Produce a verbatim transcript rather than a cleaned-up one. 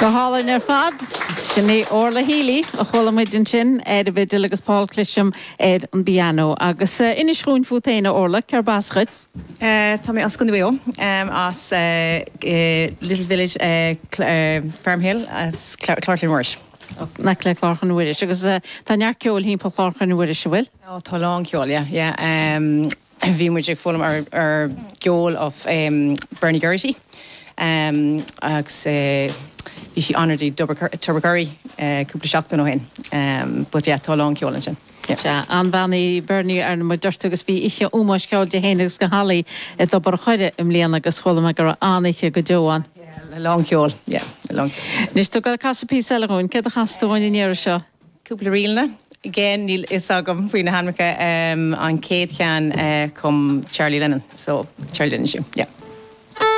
Go hálainn ar fad sin í Orla Healy a chuala muid ansin ar an bhfidil agus Paul Clisham ar an bpianó agus uh, inis dúinn fút féin Orla cárb as dhuit? Uh, tá mé as Contae Mhaigh Eo um, as uh, uh, Little Village uh, uh, Farmhill as Clár Mhuiris. Na le Clár Mhuiris agus uh, tá neart ceoil thimpeall Chlár Mhuiris bhfuil? Oh, tá lán ceoil yeah, yeah. Um, bhí muid ag foghlaim ar, ar ceol of um, Bernie Geraghty. Um, agus uh, bhí sí anuraidh i Tubbercurry uh, cúpla seachtain ó shin. Um, but yeah, tá lán ceoil ansin. Yeah. An-bhean í Bernie ar mo dúirt agus bhí oíche ómóis ceoil di féin agus go halaí i dTobar an Choire i mbliana agus chuala mé gur an-oíche go deo ann. Lán ceoil, yeah, lán. Anois tú ag casadh píosa eile dhúinn, céard a chas tú an iarraidh seo? Cúpla ríleanna. Again níl fhios agam faoi na hainmneacha um, an chéad cheann uh, chum Charlie Lennon, so Charlie Lennon siú, yeah.